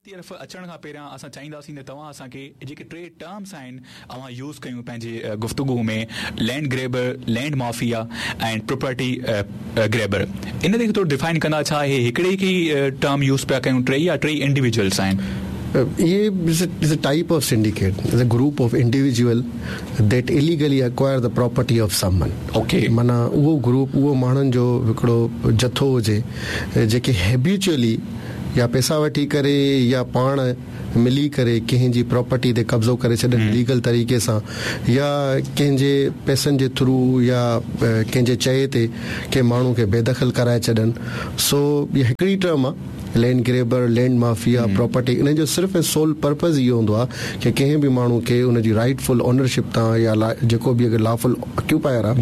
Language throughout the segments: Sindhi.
طرف اچڻ کان پهريان اسان چاهينداسين ته توهان اسان کي جيڪي ٽي ٽرمس آهن اوهان يوز ڪيون پنهنجي گفتگو ۾ land grabber, land mafia ۽ property grabber ان کي ٿورو ڊفائن ڪندا ڇا اهي هڪڙي کي ئي ٽرم يوز پيا ڪيون ٽئي يا ٽئي انڊيويجوئلس آهن؟ اهي is a type of syndicate is a group of individual that illegally acquire the property of someone okay معنيٰ اهو گروپ اهو ماڻهن جو هڪڙو جٿو هجي جيڪي هيبيچوئلي يا پئسا وٺي ڪري يا پاڻ ملي ڪري ڪنهن جي پراپرٽي تي قبضو ڪري ڇڏن ليگل طريقي سان يا ڪنهن جي پئسن جي ٿرو يا ڪنهن جي چئي تي ڪنهن ماڻهو کي بيدخل ڪرائي ڇڏن سو اها هڪڙي ٽرم آ land grabber land mafia property انهن جو صرف ۽ سول پرپز اهو هوندو آ ڪي ڪنهن به ماڻهو کي ان جي رائيٽ فل اونرشپ تان يا جيڪو به اگر لافل اڪيوپائر آ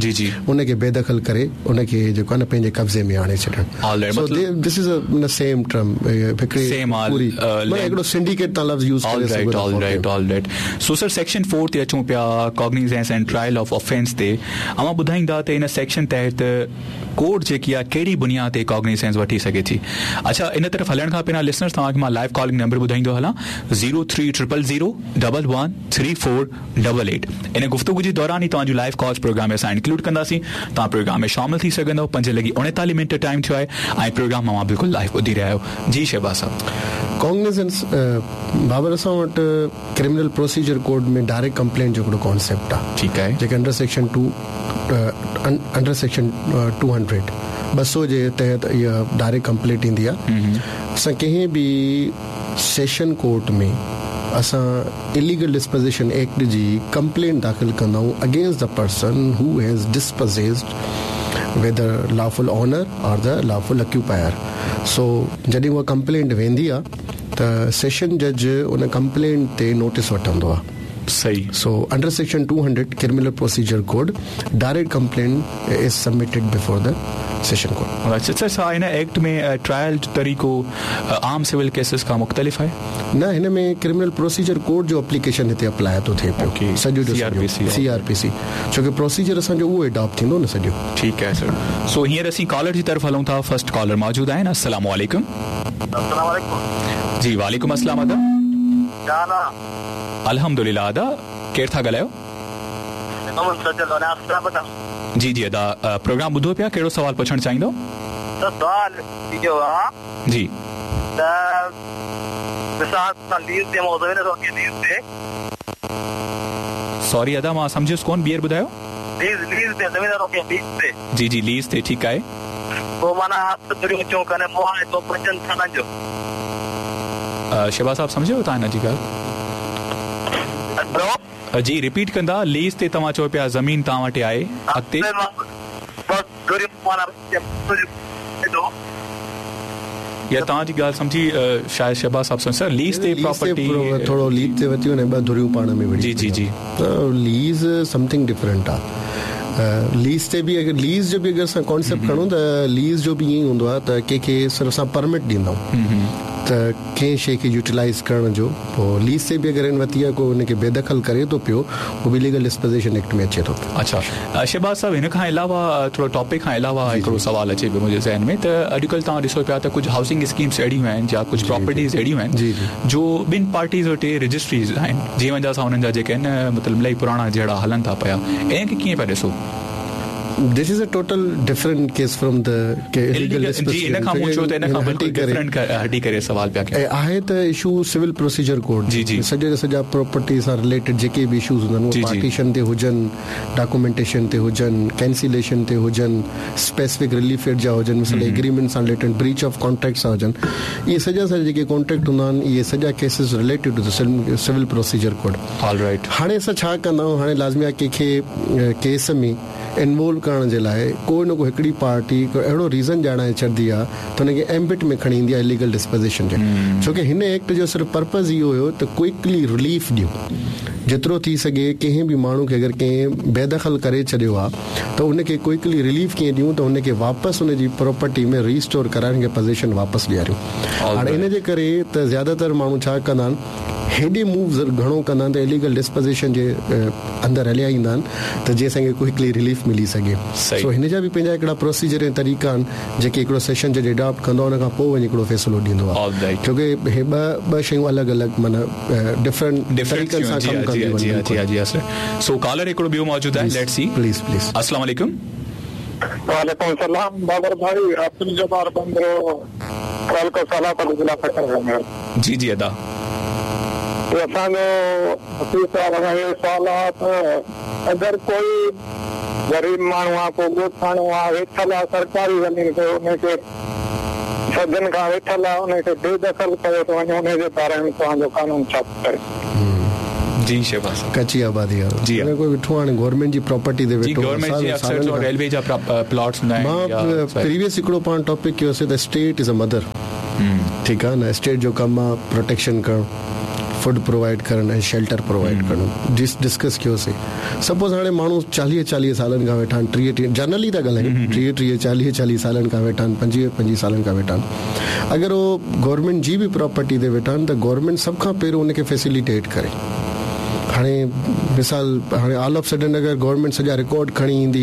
ان کي بيدخل ڪري ان کي جيڪو آ نه پنهنجي قبضي ۾ آڻي ڇڏڻ. سو دس از ا سيم ٽرم هڪڙي پوري معنيٰ هڪڙو سنڊيڪيٽ تان لفظ يوز ڪري سگهو ٿا. Alright alright so sir section 4 تي اچون پيا cognisance and trial of offence تي اوهان ٻڌائيندا ته ان سيڪشن تحت ڪورٽ جيڪي آهي ڪهڙي بنياد تي ڪاگنيزنس وٺي سگهي ٿي اڇا ان طرف هلڻ کان پهريان لسنرز توهان کي مان لائيو ڪالنگ نمبر ٻڌائيندو هلان zero three triple zero double one three four double eight ان گفتگو جي دوران ئي توهان جون لائيو ڪالز پروگرام ۾ اسان انڪلوڊ ڪنداسين توهان پروگرام ۾ شامل ٿي سگهندؤ پنج لڳي اوڻيتاليهه منٽ ٽائيم ٿيو آهي ۽ پروگرام اوهان بلڪل لائيو ٻڌي رهيا آهيو جي شهباز صاحب. ڪاگنيزنس بابر اسان وٽ criminal procedure code ۾ direct complaint جو هڪڙو ڪانسيپٽ آهي ٺيڪ آهي جيڪي under section two under section two hundred 200 جي تحت اها ڊائريڪٽ ڪمپلينٽ ايندي آهي اسان ڪنهن به سيشن ڪورٽ ۾ اسان اليگل ڊسپوزيشن ايڪٽ جي ڪمپلينٽ داخل ڪندا آهيون against the person who has dispossessed whether lawful owner or the lawful occupier so جڏهن اها ڪمپلينٽ ويندي آهي ته سيشن جج ان ڪمپلينٽ تي نوٽيس وٺندو آهي. صحيح. So under section two hundred criminal procedure code direct complaint is submitted before the session court. اڇا سر ڇا هن ايڪٽ ۾ ٽرائل جو طريقو عام سول ڪيسز کان مختلف آهي؟ نه هن ۾ ڪرمنل پروسيجر ڪوڊ جو اپليڪيشن هتي اپلاء ٿو ٿئي پيو سڄو جو سڄو سي آر پي سي ڇو ڪي پروسيجر اسان جو اهو اڊاپٽ ٿيندو نه سڄو. ٺيڪ آهي سر سو هينئر اسين ڪالر جي طرف هلون ٿا فرسٽ ڪالر موجود آهن السلام عليڪم. السلام عليڪم. جي وعليڪم السلام ادا. ڇا حال آ. الحمدلله ادا ڪير ٿا ڳالهايو. محمد سجل حيدرآباد. جي جي ادا پروگرام ٻڌو پيا ڪهڙو سوال پڇڻ چاهيندو. سر سوال اهو آ. جي. ته مثال اسان ليز تي مون زمين رکي ليز تي. سوري ادا مان سمجهيس ڪون ٻيهر ٻڌايو. ليز ليز تي زمين رکي ليز تي. جي جي ليز تي ٺيڪ آهي. پوء معنيٰ هٿ ڌريون چون ڪني معاهدو پنجن سالن جو. شهباز صاحب سمجهيو توهان هن جي ڳالهه. هيلو. جي رپيٽ ڪندا ليز تي توهان چئو پيا زمين توهان وٽ آهي اڳتي. يا توهان جي ڳالهه سمجهي شايد شهباز صاحب سمجهي سر ليز تي پراپرٽي ٿورو ليز تي ورتي وڃي ٻه ڌريون پاڻ ۾ وڙهي جي جي جي ته ليز سمٿنگ ڊفرنٽ آ ليز تي به اگر ليز جو به اگر اسان ڪانسيپٽ کڻون ته ليز جو به ائين ئي هوندو آ ته ڪنهن کي صرف اسان پرمٽ ڏيندا آهيون ته ڪنهن شي کي يوٽيلائيز ڪرڻ جو پوء ليز تي به اگر هن ورتي آ ڪو ان کي بيدخل ڪري ٿو پيو اهو به اليگل ڊسپوزيشن ايڪٽ ۾ اچي ٿو پيو. اڇا شهباز صاحب هن کان علاوه ٿورو ٽاپڪ کان علاوه هڪڙو سوال اچي پيو منهنجي ذهن ۾ ته اڄڪلهه توهان ڏسو پيا ته ڪجهه هائوسنگ اسڪيمس اهڙيون آهن يا ڪجهه پراپرٽيز اهڙيون آهن جو ٻن پارٽيز وٽ رجسٽريز آهن جنهن وجه سان انهن جا جيڪي آهن مطلب الاهي پراڻا جهيڙا هلن ٿا پيا ان کي ڪيئن پيا ڏسو؟ This is a total different case from the illegal جي ان کان مون چيو ته ان کان بلڪل ڊفرنٽ هٽي ڪري سوال پيا ڪيان. ۽ آهي ته اشو سول پروسيجر ڪوڊ جي جي سڄا جا سڄا پراپرٽي سان رليٽيڊ جيڪي به اشوز هوندا آهن اهي پارٽيشن تي هجن ڊاڪومينٽيشن تي هجن ڪينسيليشن تي هجن اسپيسفڪ رليف ايڊ جا هجن مثال ايگريمينٽ سان رليٽيڊ بريچ آف ڪانٽريڪٽ سان هجن اهي سڄا سڄا جيڪي ڪانٽريڪٽ هوندا آهن اهي سڄا cases related to civil procedure code all right هاڻي اسان ڇا ڪندا آهيون هاڻي لازمي آهي ڪنهن کي ڪيس ۾ انوالو ڪرڻ جي لاء ڪو نه ڪو هڪڙي پارٽي ڪو اهڙو ريزن ڄاڻائي ڇڏندي آهي ته ان کي ايمبٽ ۾ کڻي ايندي آهي اليگل ڊسپوزيشن جي ڇو ڪي هن ايڪٽ جو صرف پرپز اهو هيو ته ڪوئڪلي رليف ڏيون جيترو ٿي سگهي ڪنهن به ماڻهو کي اگر ڪنهن بيدخل ڪري ڇڏيو آهي ته ان کي ڪوئڪلي رليف ڪيئن ڏيون ته ان کي واپس ان جي پراپرٽي ۾ ريسٽور ڪرائي ان کي پزيشن واپس ڏياريون هاڻي ان جي ڪري ته زياده تر ماڻهو ڇا ڪندا آهن. هيڏي موو گهڻو ڪندا آهن ته اليگل ڊسپوزيشن جي اندر هليا ايندا آهن ته جيئن اسان کي ڪوئڪلي رليف ملي سگهي. سو هن جا به پنهنجا هڪڙا پروسيجر ۽ طريقا آهن جيڪي هڪڙو سيشن جج اڊاپٽ ڪندو آهي ان کان پوء وڃي هڪڙو فيصلو ڏيندو آهي ڇو ڪي هي ٻه شيون الڳ الڳ معنيٰ ڊفرنٽ طريقن سان ڪم ڪنديون آهن جي جي سر سو ڪالر هڪڙو ٻيو موجود آهي let's see please please السلام عليڪم. وعليڪم السلام بابر ڀائي عبدالجبار بندرو تعلقو صالح پور ضلع سکر کان. جي جي ادا. اسان جو وڪيل صاحب کان اهو سوال آ ته اگر ڪوئي غريب ماڻهو آ ڪو ڳوٺاڻو آ ويٺل آ سرڪاري زمين تي ان کي صدين کان ويٺل آ ان کي بي دخل ڪيو ٿو وڃي ان جي باري ۾ توهان جو قانون ڇا ٿو ڪري. جي شهباز صاحب. ڪچي آبادي وارو جي ها ڪوئي ويٺو هاڻي گورنمينٽ جي پراپرٽي تي ويٺو جي گورنمينٽ جي اڪثر جو ريلوي جا پلاٽس هوندا آهن مان پريويس هڪڙو پاڻ ٽاپڪ ڪيوسي ته اسٽيٽ از ا مدر ٺيڪ آ نه اسٽيٽ جو ڪم آ پروٽيڪشن ڪرڻ فوڊ پرووائيڊ ڪرڻ ۽ شيلٽر پرووائيڊ ڪرڻ جس ڊسڪس ڪيوسي سپوز هاڻي ماڻهو چاليهه چاليهه سالن کان ويٺا آهن ٽيهه ٽيهه جنرلي ٿا ڳالهايون ٽيهه ٽيهه چاليهه چاليهه سالن کان ويٺا آهن پنجويهه پنجويهه سالن کان ويٺا آهن اگر هو گورنمينٽ جي به پراپرٽي تي ويٺا آهن ته گورنمينٽ سڀ کان پهريون ان کي فيسليٽيٽ ڪري هاڻي مثال هاڻي آل آف سڊن اگر گورنمينٽ سڄا رڪارڊ کڻي ايندي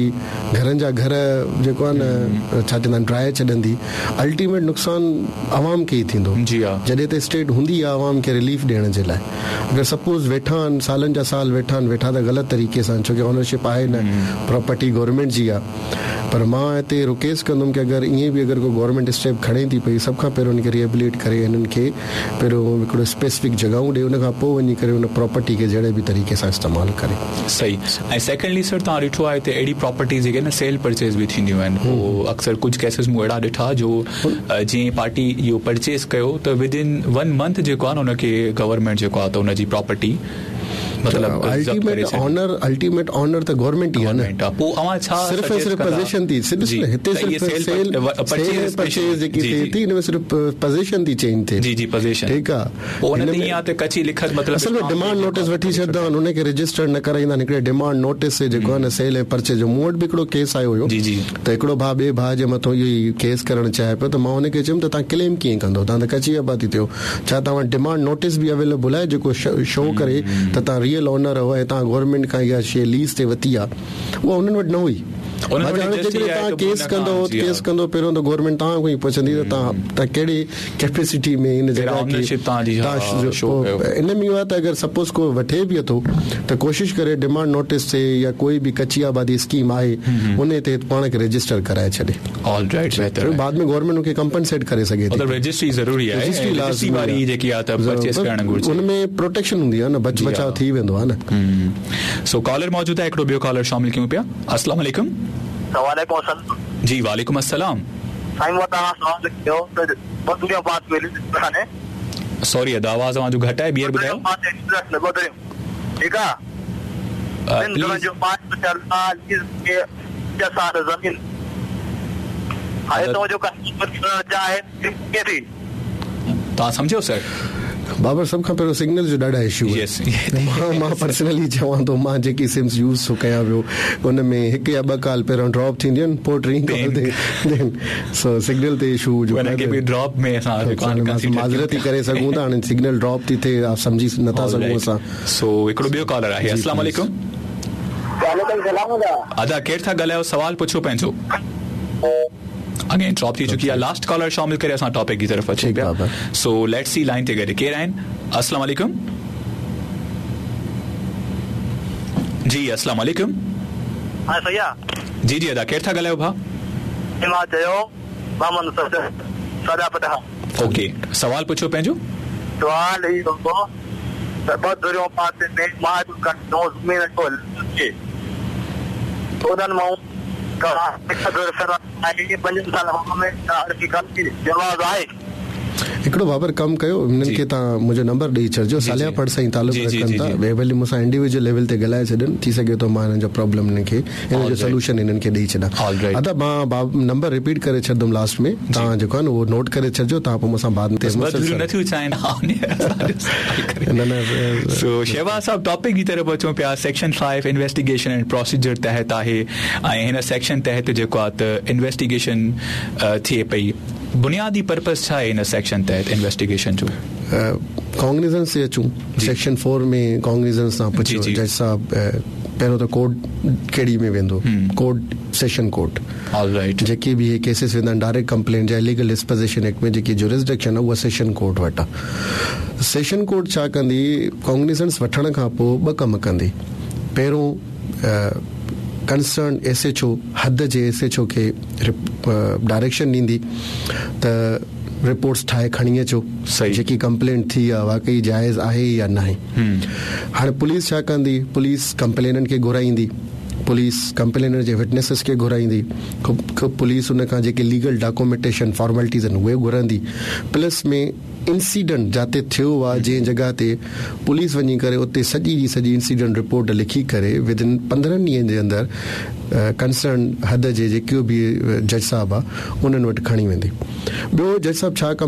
گهرن جا گهر جيڪو آهي نه ڇا چوندا آهن ڊاهي ڇڏندي الٽيميٽ نقصان عوام کي ئي ٿيندو جي ها. جڏهن ته اسٽيٽ هوندي آهي عوام کي رليف ڏيڻ جي لاء اگر سپوز ويٺا آهن سالن جا سال ويٺا آهن ويٺا ته غلط طريقي سان ڇو ڪي اونرشپ آهي نه پراپرٽي گورنمينٽ جي آهي پر مان هتي رڪويسٽ ڪندم ڪي اگر ائين به اگر ڪو گورنمينٽ اسٽيپ کڻي ٿي پئي سڀ کان پهريون ان کي ريهبليٽ ڪري انهن کي پهريون هڪڙو اسپيسفڪ جڳهون ڏي ان کان پوء وڃي ڪري ان پراپرٽي کي جهڙي به طريقي سان استعمال ڪري. صحيح ۽ سيڪنڊلي سر توهان ڏٺو آهي ته اهڙي پراپرٽيز جيڪي نه سيل پرچيز به ٿينديون آهن پوء اڪثر ڪجهه ڪيسز مون اهڙا ڏٺا جو جنهن پارٽي اهو پرچيز ڪيو ته ود ان ون منٿ جيڪو آهي نه ان کي گورنمينٽ جيڪو آهي ته ان جي پراپرٽي مطلب ضبط ڪري الٽيميٽ اونر الٽيميٽ اونر ته گورنمينٽ ئي آهي نه پوء اوهان ڇا صرف ۽ صرف پوزيشن ٿي صرف هتي صرف سيل پرچيز پرچيز جيڪي ٿئي ٿي ان ۾ صرف پوزيشن ٿي چينج ٿئي جي جي پوزيشن ٺيڪ آهي پوء ان تي ائين آهي ته ڪچي لکت مطلب اصل ۾ ڊمانڊ نوٽيس وٺي ڇڏندا آهن ان کي رجسٽر نه ڪرائيندا آهن هڪڙي ڊمانڊ نوٽيس تي جيڪو آهي نه سيل ۽ پرچيز جو مون وٽ به هڪڙو ڪيس آيو هيو جي جي ته هڪڙو ڀاء ٻئي ڀاء جي مٿو اهو ئي ڪيس ڪرڻ چاهي پيو ته مان ان کي چيم ته توهان ڪليم ڪيئن ڪندو توهان ته ڪچي آبادي تي ڇا توهان وٽ ڊمانڊ نوٽيس به اويليبل آهي جيڪو شو ڪري ته توهان ريئل اونر آهيو ۽ توهان گورنمينٽ کان اها شي ليز تي ورتي آهي اها انهن وٽ نه هئي انهن وٽ هاڻي جسٽ جيڪڏهن اها آهي توهان ته ڪيس ان ڪندو کان جي ڪيس ها ڪندو پهريون ته گورنمينٽ توهان کان ئي پڇندي ته توهان توهان ڪهڙي ڪيپيسٽي ۾ ان پهريان جڳهه کي اونرشپ توهان جي ها توهان شو ڪيو ان ۾ اهو آهي ته اگر سپوز ڪو وٺي به ٿو ته ڪوشش ڪري ڊمانڊ نوٽيس تي يا ڪوئي به ڪچي آبادي اسڪيم آهي ان تحت پاڻ کي رجسٽر ڪرائي ڇڏي. آل رائٽ بهتر آهي. بعد ۾ گورنمينٽ ان کي ڪمپنسيٽ ڪري سگهي ٿي. مطلب رجسٽري ضروري آهي رجسٽري ۽ رجسٽري لازمي واري آهي جيڪي آهي ته پرچيز ڪرڻ گهرجي. ان ۾ پروٽيڪشن هوندي آهي نه بچ بچاء ٿي ويندو آهي نه. سو ڪالر موجود آهي هڪڙو ٻيو ڪالر شامل ڪيون پيا السلام عليڪم. وعليڪم السلام. جي وعليڪم السلام. سائين مون توهان کان سوال ڪيو ته ٻڌريون پاس ۾ سوري ادا آواز اوهان جو گهٽ آهي ٻيهر ٻڌايو. ٻڌريون ٺيڪ آهي ٻن ڌرين جو پاس ٿيل آهي ليز تي 5 سال زمين هاڻي تو جو ڪسٽمر ٿيڻ چاهي ڪيئن ٿي. توهان سمجهيو سر. بابر سڀ کان پهريون سگنل جو ڏاڍا اشو آهن مان مان پرسنلي چوان ٿو مان جيڪي سمز يوز ٿو ڪيان پيو ان ۾ هڪ يا ٻه ڪال پهريون ڊراپ ٿينديون آهن پوء ٽين ڪال تي دين سو سگنل تي اشو جو ان کي به ڊراپ ۾ اسان معذرت ئي ڪري سگهون ٿا هاڻي سگنل ڊراپ ٿي ٿئي سمجهي نٿا سگهون اسان سو هڪڙو ٻيو ڪالر آهي السلام عليڪم. وعليڪم السلام ادا. ادا ڪير ٿا ڳالهايو سوال پڇو پنهنجو. اگين ڊراپ ٿي چڪي آهي لاسٽ ڪالر شامل ڪري اسان ٽاپڪ جي طرف اچون پيا سو let's see line تي گڏ ڪير آهن السلام عليڪم جي السلام عليڪم. ها صحيح آ. جي جي ادا ڪير ٿا ڳالهايو ڀاء. مان چيو محمد سجاد سجاد پٺاڻ. اوڪي سوال پڇو پنهنجو. سوال هي هو ته ٻه ڌريون پاسي ۾ معاهدو ڪن ٿيون زمين جو ليز تي انهن مان ڪا هڪ ڌر فرار آهي پنجن سالن کان ۾ عرفي ڪن جواز آهي. هڪڙو بابر ڪم ڪيو انهن کي توهان منهنجو نمبر ڏئي ڇڏجو صالح پڙ سان ئي تعلق رکن ٿا وي ڀلي مون سان انڊيويجوئل ليول تي ڳالهائي ڇڏن ٿي سگهي ٿو مان انهن جو پرابلم انهن کي ان جو سلوشن انهن کي ڏئي ڇڏان ادا مان نمبر رپيٽ ڪري ڇڏندم لاسٽ ۾ توهان جيڪو آهي نه اهو نوٽ ڪري ڇڏجو توهان پوء مون سان بعد ۾ نه نه سو شهباز صاحب ٽاپڪ جي طرف اچون پيا سيڪشن 5 انويسٽيگيشن اينڊ پروسيجر تحت آهي ۽ هن سيڪشن تحت جيڪو آهي ته انويسٽيگيشن ٿئي پئي. بنيادي پرپز ڇا آهي ان سيڪشن تحت انويسٽيگيشن جو؟ ڪاگنيزنس تي اچون سيڪشن 4 ۾ ڪاگنيزنس تان پڇيو جج صاحب پهريون ته ڪورٽ ڪهڙي ۾ ويندو court session court all right جيڪي به اهي ڪيسز ويندا آهن ڊائريڪٽ ڪمپلينٽ يا اليگل ڊسپوزيشن ايڪٽ ۾ جيڪي جورسڊڪشن آهي اها سيشن ڪورٽ وٽ آهي سيشن ڪورٽ ڇا ڪندي ڪاگنيزنس وٺڻ کان پوء ٻه ڪم ڪندي پهريون ڪنسرن ايس ايڇ او حد جي ايس ايڇ او کي ڊائريڪشن ڏيندي ته رپورٽس ٺاهي کڻي اچو جيڪي ڪمپلينٽ ٿي آهي واقعي جائز آهي يا ناهي هاڻي پوليس ڇا ڪندي پوليس ڪمپليننٽ کي گهرائيندي پوليس ڪمپليننٽ جي وٽنيسز کي گهرائيندي پوليس ان کان جيڪي ليگل ڊاڪومينٽيشن فارملٽيز آهن اهي گهرندي پلس ۾ انسيڊنٽ جاتي ٿيو آ جنهن جڳهه تي پوليس وڃي ڪري اتي سڄي جي سڄي انسيڊنٽ رپورٽ لکي ڪري ود ان 15 ڏينهن جي اندر ڪنسرن حد جي جيڪو به جج صاحب آ انهن وٽ کڻي ويندي ٻيو جج صاحب ڇا ڪم.